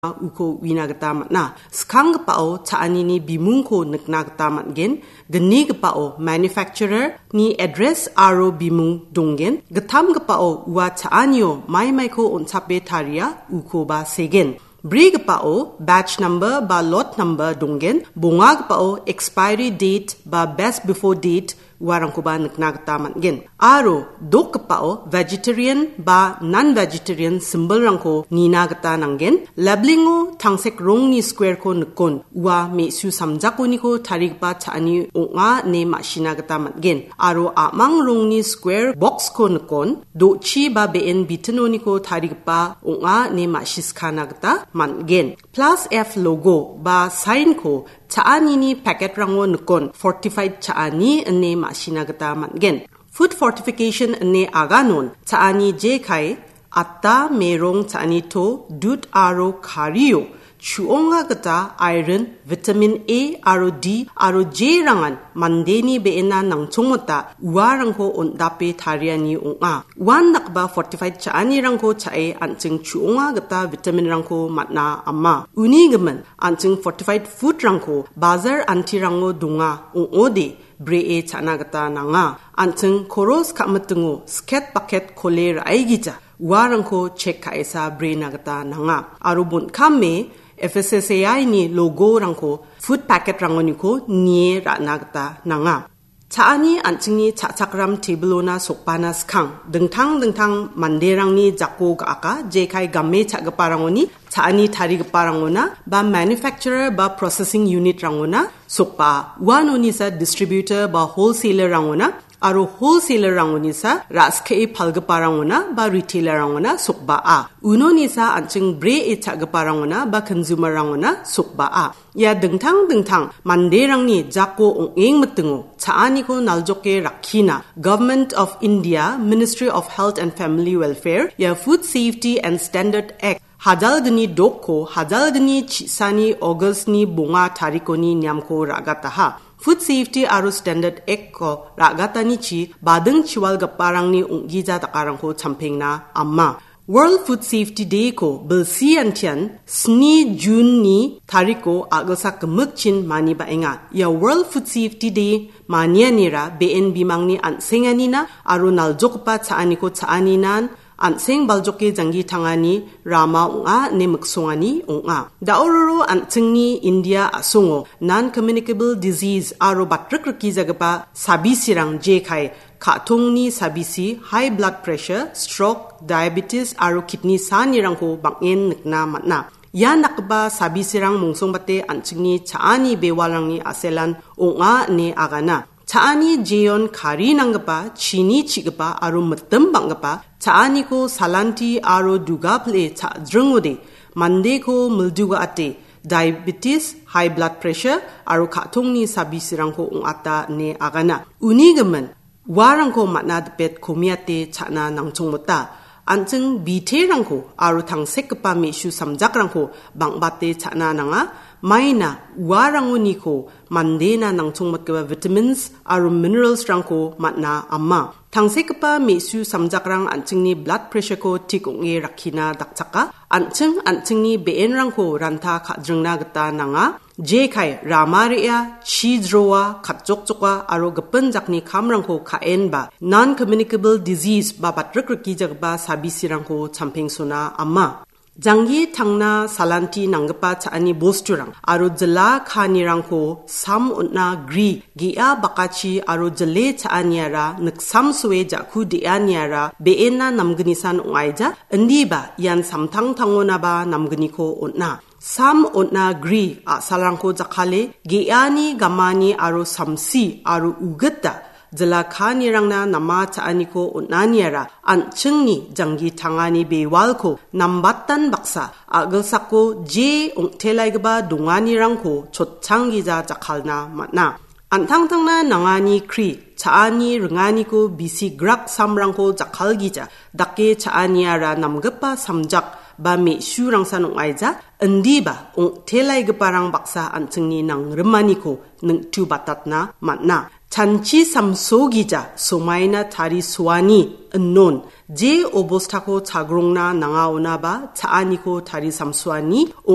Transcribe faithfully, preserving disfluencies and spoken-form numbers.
uko uina gita man·a. Skanggipao cha·anini bimungko nikna gita man·gen. Gnigipao manufacturer-ni address aro bimung donggen. Gittamgipao ua cha·anio maimaiko on·chape taria ukoba segen. Brigipao batch number ba lot number donggen. Bongagipao expiry date ba best before date uarangkoba nikna gita man·gen. Aro dokgipao vegetarian ba non-vegetarian symbolrangko nina gita nanggen. Labelingo tangsek rongni squareko nikon ua me·su samjakoniko tarigipa cha·ani ong·a ine ma·sina gita man·gen. Aro a·mang rongni square boxko nikon do·chi ba be·en bitinoniko tarigipa ong·a ine ma·siskana gita man·gen. Plus F logo ba signko cha·anini packetrango nikon fortified cha·ani ine ma·sina gita man·gen. Food fortification ine aganon cha·ani jekai atta, merong cha·ani to, dud aro kario chu·onga gita iron, vitamin A aro D aro J rangan mandeni be·ena nangchongmota uarangko on·dape tariani ong·a. Uandakgipa fortified cha·anirangko cha·e an·ching chu·onga gita vitaminrangko man·a ama. Uni gimin an·ching fortified foodrangko bazar antirango donga ong·ode bree cha·na gita nanga. An·ching koros ka·mitingo sket baket kole ra·aigija uarangko chek ka·esa brena gita nanga. Aro bon·kame F S S A I-ni logorangko food packetrangoniko nie ra·na gita nanga. Cha·ani an·chingni cha·chakram tebilona sokbana skang dingtang dingtang manderangni jako ga·aka, jekai game cha·giparangoni cha·ani tarigiparangona ba manufacturer ba processing unit-rangona sokba. Uanonisa distributor ba wholesaler-rangona aro wholesaler-rangonisa ra·skie palgiparangona ba retailer-rangona sokba·a. Unonisa an·ching bree cha·giparangona ba consumer-rangona sokba·a. Ia dingtang dingtang manderangni jako ong·engmitingo cha·aniko naljoke rakkina Government of India, Ministry of Health and Family Welfare, ia Food Safety and Standard Act hajalgni dokko hajalgni chisani August-ni bonga tarikoni niamko ra·gataha. Food Safety aro Standard Act-ko ra·gatanichi bading chiwalgiparangni ong·gija dakarangko champengna ama. World Food Safety Day-ko bilsi antian sni June-ni tariko a·gilsak gimikchin manibaenga. Ia World Food Safety Day manianira be·en bimangni an·senganina aro naljokgipa cha·aniko cha·aninan an·seng baljoke janggi tangani rama ong·a ine miksongani ong·a. Da·ororo an·chingni India a·songo non-communicable disease aro batrikrikijagipa sabisirang jekai ka·tongni sabisi, high blood pressure, stroke, diabetes aro kidney sanirangko bang·en nikna man·a. Ia nakgipa sabisirang mongsongbate an·chingni cha·ani bewalrangni a·selan ong·a ine agana. Cha·ani jeon kari nanggipa, chini chi·gipa aro mitim bang·gipa cha·aniko salanti aro duga pile cha·jringode mandeko milduga·ate diabetes, high blood pressure aro ka·tongni sabisirangko ong·ata ine agana. Uni gimin uarangko man·a dipet komiate cha·na nangchongmota. An·ching biterangko aro tangsekgipa me·su samjakrangko bang·bate cha·na nanga. Maina uarangoniko mandena nangchongmotgipa vitamins aro minerals-rangko man·a ama. Tangsekgipa me·su samjakrang an·chingni blood pressure-ko tik ong·e rakkina dakchaka. An·ching an·chingni be·enrangko ranta ka·jringna gita nanga. Jekai rama re·a, chi jroa, katjokjoka aro gipin jakni kamrangko ka·enba non-communicable disease ba batrikrikijagipa sabisirangko champengsona ama. Janggi tangna salanti nanggipa cha·ani bosturang aro jila kaanirangko sam on·a gri ge·a bakachi aro jile cha·aniara niksamsoe ja·ku de·aniara be·ena namgnisan ong·aija, indiba ian samtangtangonaba namgniko on·a. Sam on·a gri a·salrangko jakkale ge·ani, gamani aro samsi aro ugita jila kaanirangna nama cha·aniko on·aniara an·chingni janggi tangani bewalko nambatan baksa a·gilsako je ong·telaigipa donganirangko chotchanggija jakkalna man·a. An·tangtangna nangani kri cha·ani ringaniko bisi grak samrangko jakkalgija dake cha·aniara namgipa samjak ba me·surangsan ong·aija, indiba ong·telaigiparang baksa an·chingni nangrimaniko ningtubatatna man·a. Chanchi samsogija somaina tarisoani inon je obostako chagrongna nangaonaba cha·aniko tarisamsoani